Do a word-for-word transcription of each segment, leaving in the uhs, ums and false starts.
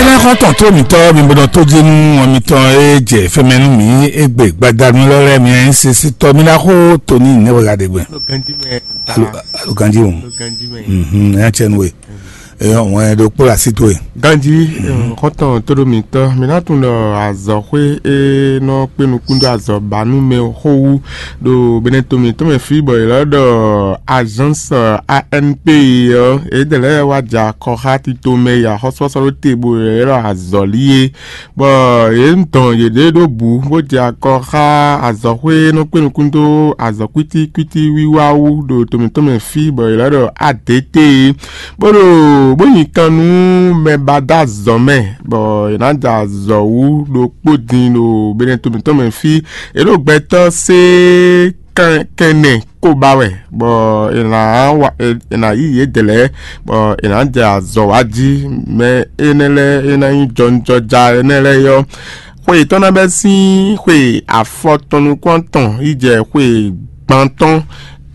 Xɔ́ntɔn tó mǐtɔn mi bó nɔ tó jí nú ɔ́ mitɔn e jɛ fɛmɛ nú mǐ égbé gbadanu lɔ lɛ́ɛ mi nyí sesitɔ mi ná xó tóní nɛwɛla ɖe gbɛ. Alo alo ganji o. Mhm, nya cɛ nu we. Eyɔ wọn ɖo kpó asi towe. Ganji, xɔ́ntɔn tó ɖo mǐtɔn mi ná tunwun ɖɔ azɔ̌xwé e nɔ kpé nukún dó azɔ̌ ba nú mɛ xó wú ɖo Benɛto mǐtɔn mɛ fí bɔ è lɛ́ ɖɔ agence A N P ɔ́, yědɛɛ lɛ́ɛ wá jɛ akɔ xá tito mɛ yi axɔ́súxɔ́sú ɖó te bó lɛ́ ɖɔ azɔ̌lí é, bɔ yě dɔn yěɖée ɖó bǔ bó jɛ akɔ xá azɔ̌xwé e nɔ kpé nukún dó azɔ̌ kwítíkwítí wiwa wú ɖo to mǐtɔn mɛ fí, bɔ è lɛ́ ɖɔ A D T é, bó ɖo bó nyi kan nú mɛ ba dó azɔ̌ mɛ, bɔ è nǎ jɛ azɔ̌ wú ɖokpó din ɖo Benɛto mǐtɔn mɛ fí. È ɖo gbɛtɔ́ sé kɛnɛ kó ba wɛ, bɔ è nǎ wa è nǎ yí yědɛɛ lɛ́ɛ, bɔ è nǎ jɛ azɔ̌ wa jí. Mɛ énɛ́ lɛ́ɛ é ná nyí jɔnjɔja énɛ́ lɛ́ɛ ɔ́, xwe yětɔn ná bɛ́ sín xwe afɔtɔn nukún atɔn yi jɛ xwe gbantɔ́n.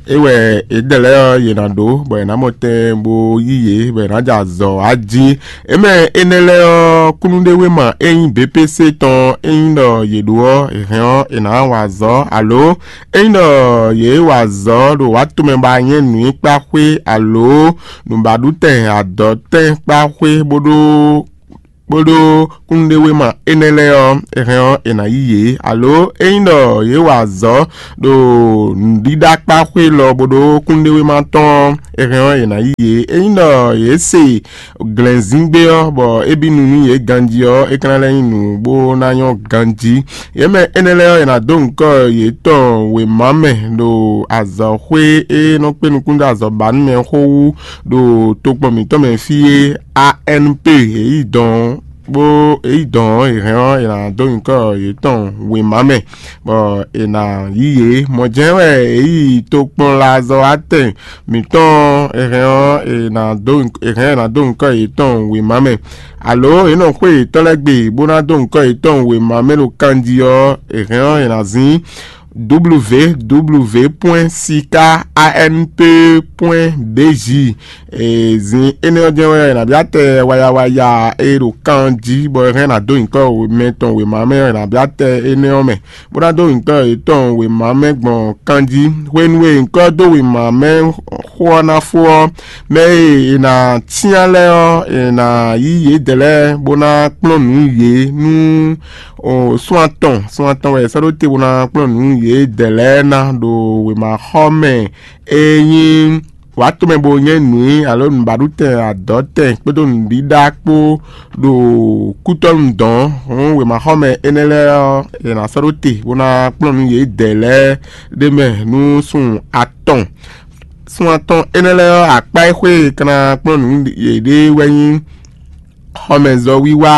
É wɛ yědɛɛ lɛ́ɛ ɔ́ yě ná ɖó, bɔ è nǎ mɔ tɛn bó yí yě, bɔ è nǎ jɛ azɔ̌ wa jí. Émɛ énɛ́ lɛ́ɛ ɔ́, kúnnuɖewéma e nyí B P C tɔn e nyí ɖɔ yě ɖó ɔ́, è hɛn ɔ́, è nǎ wa azɔ̌, alo é nyí ɖɔ yě wa azɔ̌ ɖo wǎtomɛ ba nyɛ́ nǔnywɛ́kpáxwé alo nǔbaɖutɛn adɔ̌tɛn kpáxwé bó ɖó bó ɖó kúnnuɖewéma énɛ́ lɛ́ɛ ɔ́, è hɛn ɔ́, è nǎ yí yě, alo é nyí ɖɔ yě wa azɔ̌ ɖo nǔɖíɖákpáxwé lɔ bó ɖó kúnnuɖewéma tɔn ɔ́, è hɛn ɔ́, è nǎ yí yě. É nyí ɖɔ yě se glɛ̌nzíngbe ɔ́, bɔ é bí nu nú yě ganjí ɔ́, é ka ná lɛ́ nyí nǔ bó ná nyɔ́ ganjí. Yě mɛ énɛ́ lɛ́ɛ ɔ́, è nǎ dó nyǐkɔ yětɔn wěma mɛ ɖo azɔ̌xwé e nɔ kpé nukún dó azɔ̌banúmɛ xó wú ɖo tokpɔn mǐtɔn mɛ fí é, A N P, yě yi dɔn bó yě yi dɔn ɔ́, è hɛn ɔ́, è nǎ dó nyǐkɔ yětɔn wěma mɛ, bɔ è nǎ yí yě. Mɔ̌ jɛ́n wɛ è yi tokpɔnlazɔ́watɛn mǐtɔn ɔ́, è hɛn ɔ́, è nǎ dó è hɛn è nǎ dó nyǐkɔ yětɔn wěma mɛ, alo è nɔ xwé yětɔn lɛ́ɛ gbe bó ná dó nyǐkɔ yětɔn wěma mɛ ɖo kanjí ɔ́, è hɛn ɔ́, è nǎ zín www.sikaanp.bj. Zin énɛ́ ɔ́ jɛ́n wɛ nǎ byá tɛ wayawaya e ɖo kan jí, bɔ è hɛn ná dó nyǐkɔ mɛ tɔn wěma mɛ ɔ́, è nǎ byá tɛ énɛ́ ɔ́ mɛ, bó ná dó nyǐkɔ yětɔn wěma mɛ gbɔn kan jí. Hwenu e nyǐkɔ dó wěma mɛ xó ɔ́ ná fó ɔ́, mɛ e è nǎ cyán lɛ́ɛ ɔ́, è nǎ yí yědɛɛ lɛ́ɛ bó ná kplɔ́n nǔ yě nú sún atɔn, sún atɔn wɛ è sɔ́ ɖó te bó ná kplɔ́n nǔ yědɛɛ lɛ́ɛ ná ɖo wěmaxɔmɛ e nyí wǎtomɛ bó nyɛ́ nǔ i alo nǔbaɖutɛn adɔ̌tɛn kpódó nǔɖíɖá kpó ɖo kútɔ́nu dɔ̌n. Hǔn wěmaxɔmɛ énɛ́ lɛ́ɛ ɔ́, è nǎ sɔ́ ɖó te bó ná kplɔ́n nǔ yědɛɛ lɛ́ɛ ɖ'é mɛ nú sun atɔn. Sun atɔn énɛ́ lɛ́ɛ ɔ́, akpá e xwé è ka ná kplɔ́n nǔ yěɖée wɛ nyí xɔmɛzɔ́wiwa,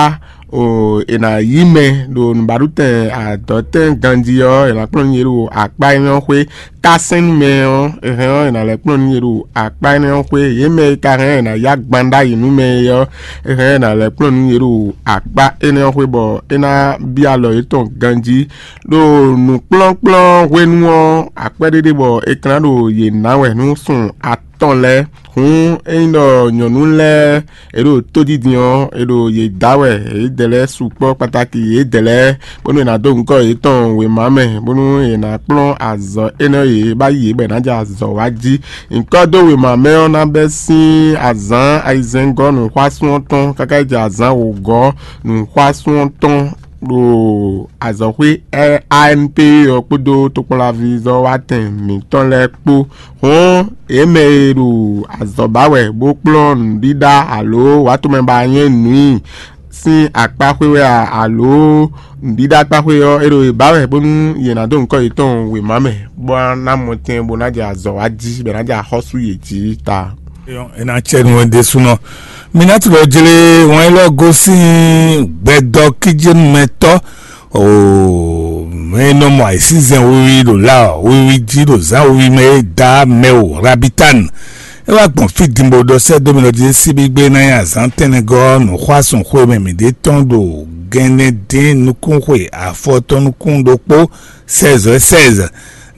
è nǎ yí mɛ ɖo nǔbaɖutɛn adɔ̌tɛn ganjí ɔ́, è nǎ kplɔ́n nú yě ɖo akpá énɛ́ ɔ́ xwé. Kásɛ́n nú mɛ ɔ́, è hɛn ɔ́, è nǎ lɛ́ kplɔ́n nú yě ɖo akpá énɛ́ ɔ́ xwé. Yě mɛ e ka hɛn è nǎ yá gban ɖ'ayǐ nú mɛ é ɔ́, è hɛn è nǎ lɛ́ kplɔ́n nú yě ɖo akpá énɛ́ ɔ́ xwé, bɔ é ná byɔ́ alɔ yětɔn ganjí. Ɖo nǔkplɔ́nkplɔ́n hwenu ɔ́, akwɛ́ ɖé ɖe bɔ è ka ná ɖo yě ná wɛ nú sun atɔn lɛ́ɛ. Hǔn ényí ɖɔ nyɔ̌nu lɛ́ɛ è ɖo tódídin ɔ́, è ɖo yě dá wɛ, yědɛɛ lɛ́ɛ sukpɔ́ kpatáki yědɛɛ lɛ́ɛ, bónú è nǎ dó nyǐkɔ yětɔn wěma mɛ, bónú è nǎ kplɔ́n azɔ̌ énɛ́ e yě ba yí yě bɔ è nǎ jɛ azɔ̌ wa jí. Nyǐkɔ dó wěma mɛ ɔ́ ná bɛ́ sín azǎn ayizɛ́ngɔ́ nǔxwásún ɔ́ tɔn káká yi jɛ azǎn wǒgɔ́ nǔxwásún ɔ́ tɔn ɖo azɔ̌xwé A N P ɔ́ kpódó tokpɔnlaví zɔ́watɛn mǐtɔn lɛ́ɛ kpó. Hɔn yě mɛ e ɖo azɔ̌ ba wɛ bó kplɔ́n nǔɖíɖá alo wǎtomɛ ba nyɛ́ nǔ i sín akpá xwé wɛ a, alo nǔɖíɖá akpá xwé ɔ́, é ɖo yě ba wɛ bónú yě ná dó nyǐkɔ yětɔn wěma mɛ, bó ná mɔ tɛn bó ná jɛ azɔ̌ wa jí, bɔ è nǎ jɛ axɔ́sú yě jí ta. È nǎ cɛ nú ɛ ɖésúnɔ. Mi ná tlɔ jlé wọn élɔ́ gosín gbɛdɔ kíjénúmɛtɔ́ o mɛ nɔ mɔ ayǐsízɛn wiwi ɖo la wiwi jí ɖo zǎn wiwi mɛ é da mɛ o rabitan. É wá gbɔn fí dimbo ɖɔ sɛ́ dó mi lɔ jí síbígbé ná nyi azǎn tɛnɛgɔ́ nǔxwásún xwé mɛ mǐ ɖe tɔn ɖo gɛnɛ dín nukún xwe afɔtɔn nukún ɖokpó seize seize.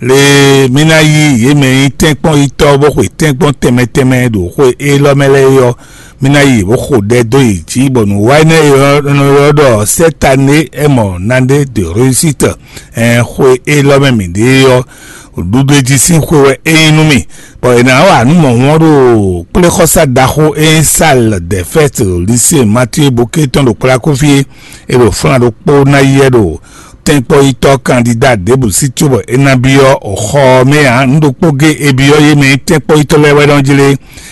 Le mí ná yí yě mɛ nyí tɛ́nkpɔ́n yítɔ́ bó xwe tɛ́nkpɔ́n tɛnmɛ tɛnmɛ ɖo xwe élɔ́ mɛ lɛ́ɛ é ɔ́, mí ná yí bó xo ɖɛ dó yě jí, bɔ nǔ wa énɛ́ e è nɔ ylɔ́ ɖɔ sɛ́tané ɛmɔ nane de réussite. Ɛn xwe élɔ́ mɛ mǐ ɖe ɔ́, ɖuɖu e jí sín xwe wɛ é nyí nú mì, bɔ è nǎ wa nǔ mɔ̌hun ɔ́ ɖo kplé xɔ́sá ɖaxó e nyí sal dɛfɛt lisée matie boketɔn ɖo kplakúfí é ɖo flán ɖokpó ná yi ɛ ɖo tɛ́nkpɔ́yítɔ́ kandida ɖěbǔ sí cóbɔ é ná byɔ́ xɔ ɔ́ mɛ ǎ. Nǔ ɖokpó gé e byɔ́ yé mɛ nyí tɛ́nkpɔ́yítɔ́ lɛ́ɛ wɛ nɔ jlé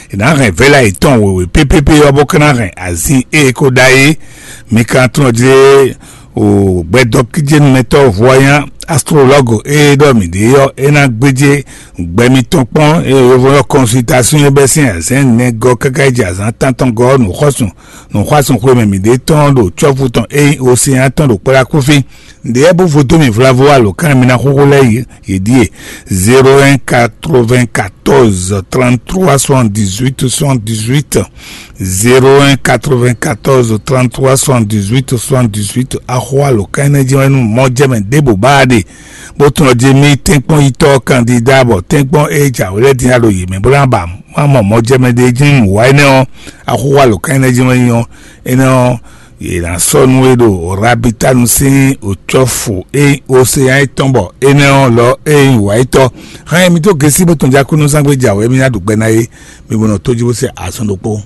è nǎ hɛn vɛ̌la yětɔn wěwé pépépé ɔ́ bó ka ná hɛn azin e è ko ɖa é. Mi ka tunɔ jlé o gbɛdɔkíjénumɛtɔ́ vɔ́nyá astrolɔ́gu e ɖɔ mǐ ɖe ɔ́, é ná gbéjé gbɛ mitɔn kpɔ́n e yovo ɔ́ consultation é bɛ́ sín azɛ̌n nɛgɔ́ káká yi jɛ azǎn tántɔn gɔ́ nǔxɔ́sùn nǔxwásùn xwemɛ mǐ ɖe tɔn ɖo cɔ́fu tɔn e nyí osean tɔn ɖo kplá kúfí. Nǔɖé bó vodó mì vlavo alǒkan e mi ná xóxó lɛ́ɛ yě ɖíe: zéro un quatre-vingt-quatorze trente-trois soixante-dix-huit soixante-dix-huit, zéro un quatre-vingt-quatorze trente-trois soixante-dix-huit soixante-dix-huit. Axó alǒkan énɛ́ jɛ́n wɛ nú mɔjɛmɛ ɖěbǔ ba ɖe, bó tunɔ jí mì tɛ́nkpɔ́n yitɔ́ kandida bɔ tɛ́nkpɔ́n e jǎwe lɛ́ɛ din ɖo yě mɛ bó ná ba má mɔ mɔjɛmɛ ɖé jí nǔ wa énɛ́ ɔ́, axó alǒkan énɛ́ jɛ́n wɛ nyí ɔ́, énɛ́ ɔ́, yě ná sɔ́ nú we ɖo Rabitanu sín òcɔ́fu e osean é tɔn bɔ énɛ́ ɔ́ lɔ e nyí wǎyítɔ́. Hán e mi dó gesi bó tɔn jákúnúzángbe jǎwe mi ná ɖu gbɛ ná é, mi bo nɔ tójú bó se azɔn ɖokpó.